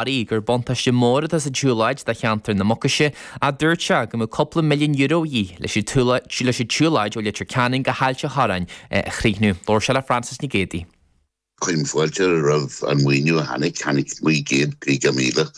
Chiarraí gur buntáiste mór atá sa tsiúlóid do cheantar na Mucaise ach dúirt sé go mbeadh cúpla milliún euro a dhíth leis an tsiúlóid ó Leitir Ceanainn go hAilt an Chorráin a chríochnú. Labhair sé le Frances Nic Géadaigh. Cuirim fáilte roimh an maoiniú a tháinig, tháinig 950,000.